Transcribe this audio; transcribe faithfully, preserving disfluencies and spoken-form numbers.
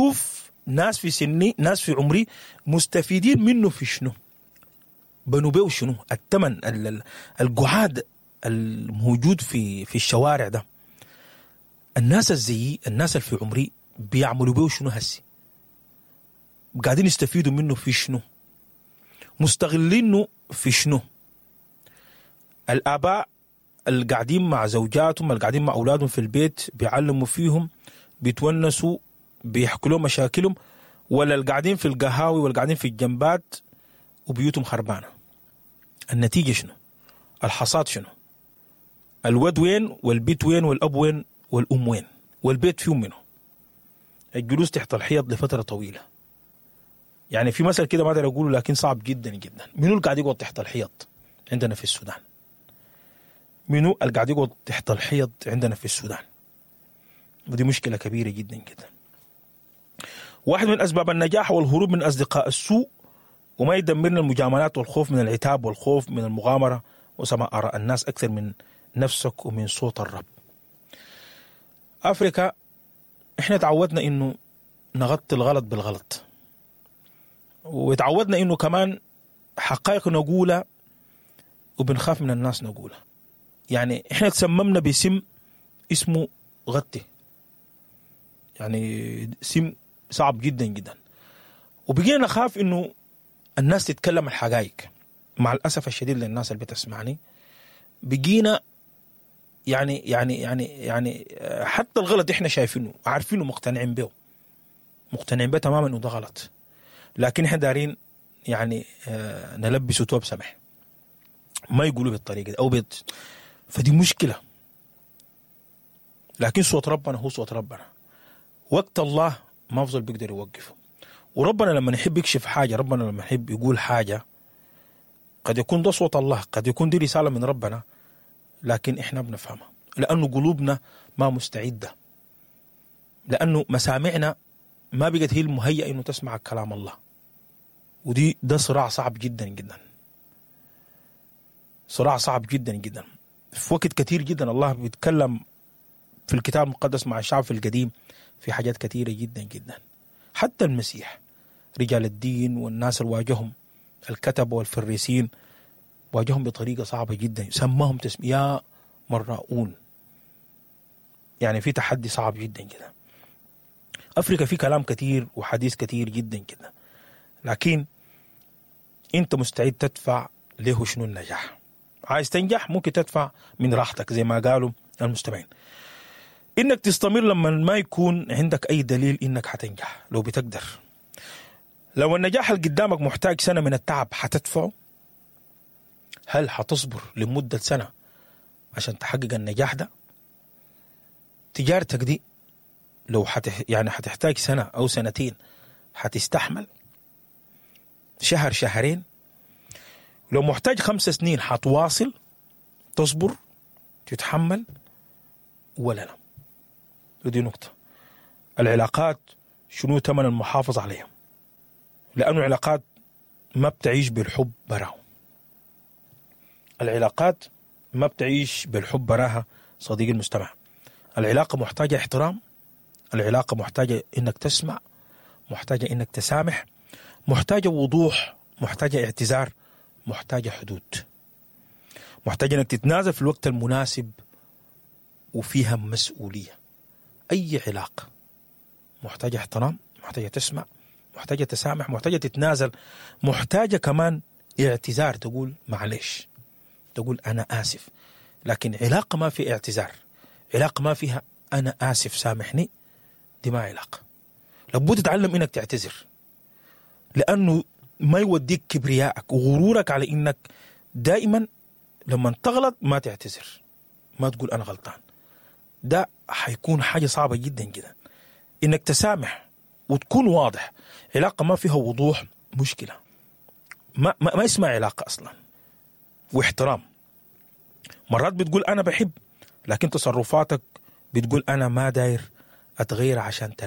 شوف ناس في سني، ناس في عمري مستفيدين منه في شنو؟ بنوا بيه شنو؟ الثمن ال- ال- القعاد الموجود في في الشوارع ده، الناس الزيي، الناس اللي في عمري بيعملوا بيه شنو هسي؟ قاعدين يستفيدوا منه في شنو؟ مستغلينه في شنو؟ الآباء اللي قاعدين مع زوجاتهم، اللي قاعدين مع أولادهم في البيت، بيعلموا فيهم، بيتونسوا، بيحكوا لهم مشاكلهم، ولا اللي قاعدين في القهاوي ولا قاعدين في الجنبات وبيوتهم خربانة؟ النتيجة شنو؟ الحصاد شنو؟ الود وين والبيت وين والأب وين والأم وين والبيت فيهم منه؟ الجلوس تحت الحيط لفترة طويلة. يعني في مثل كده ما أقدر أقوله لكن صعب جدا جدا. منو اللي قاعد يقعد تحت الحيط عندنا في السودان؟ منو اللي قاعد يقعد تحت الحيط عندنا في السودان؟ ودي مشكلة كبيرة جدا جدا. واحد من أسباب النجاح والهروب من أصدقاء السوء وما يدمرنا المجاملات والخوف من العتاب والخوف من المغامرة وسماع آراء الناس أكثر من نفسك ومن صوت الرب. أفريكا إحنا تعودنا إنه نغطي الغلط بالغلط، وتعودنا إنه كمان حقائق نقولها وبنخاف من الناس نقولها. يعني إحنا تسممنا بسم اسمه غطي، يعني سم صعب جدا جدا، وبقينا نخاف إنه الناس تتكلم الحقائق. مع الأسف الشديد للناس اللي بتسمعني بقينا يعني يعني يعني يعني حتى الغلط إحنا شايفينه عارفينه مقتنعين به، مقتنعين به تماما إنه ده غلط، لكن إحنا دارين يعني نلبسه توب سمح، ما يقولوا بالطريقة دي أو بيت. فدي مشكلة. لكن صوت ربنا هو صوت ربنا، وقت الله ما أفضل بيقدر يوقفه. وربنا لما يحب يكشف حاجة، ربنا لما يحب يقول حاجة، قد يكون ده صوت الله، قد يكون دي رسالة من ربنا، لكن إحنا بنفهمها لأنه قلوبنا ما مستعدة، لأنه مسامعنا ما بقت هي المهيئة إنه تسمع كلام الله. ودي ده صراع صعب جدا جدا، صراع صعب جدا جدا. في وقت كثير جدا الله بيتكلم في الكتاب المقدس مع الشعب في القديم في حاجات كثيرة جدا جدا. حتى المسيح رجال الدين والناس اللي واجههم الكتب والفريسين واجههم بطريقة صعبة جدا، سماهم تسمية مراؤون. يعني في تحدي صعب جدا جدا. أفريقيا في كلام كثير وحديث كثير جدا جدا، لكن أنت مستعد تدفع له شنو النجاح؟ عايز تنجح ممكن تدفع من راحتك زي ما قالوا المستمعين. إنك تستمر لما ما يكون عندك أي دليل إنك حتنجح، لو بتقدر. لو النجاح اللي قدامك محتاج سنة من التعب حتدفعه؟ هل حتصبر لمدة سنة عشان تحقق النجاح ده؟ تجارتك دي لو حتح يعني حتحتاج سنة أو سنتين حتستحمل؟ شهر شهرين؟ لو محتاج خمس سنين حتواصل تصبر تتحمل ولا لا؟ ودي نقطة. العلاقات شنو ثمن المحافظة عليها؟ لأنه العلاقات ما بتعيش بالحب براها. العلاقات ما بتعيش بالحب براها صديقي المستمع. العلاقة محتاجة احترام، العلاقة محتاجة إنك تسمع، محتاجة إنك تسامح، محتاجة وضوح، محتاجة اعتذار، محتاجة حدود، محتاجة إنك تتنازل في الوقت المناسب، وفيها مسؤولية. أي علاقة محتاجة احترام، محتاجة تسمع، محتاجة تسامح، محتاجة تتنازل، محتاجة كمان اعتذار، تقول معلش، تقول أنا آسف. لكن علاقة ما في اعتذار، علاقة ما فيها أنا آسف سامحني، دي ما علاقة. لابد تتعلم إنك تعتذر، لأنه ما يوديك كبريائك وغرورك على إنك دائما لما تغلط ما تعتذر، ما تقول أنا غلطان. ده حيكون حاجة صعبة جدا جدا. إنك تسامح وتكون واضح. علاقة ما فيها وضوح مشكلة، ما, ما, ما اسمها علاقة أصلا. واحترام. مرات بتقول أنا بحب، لكن تصرفاتك بتقول أنا ما داير أتغير عشان تلاقي.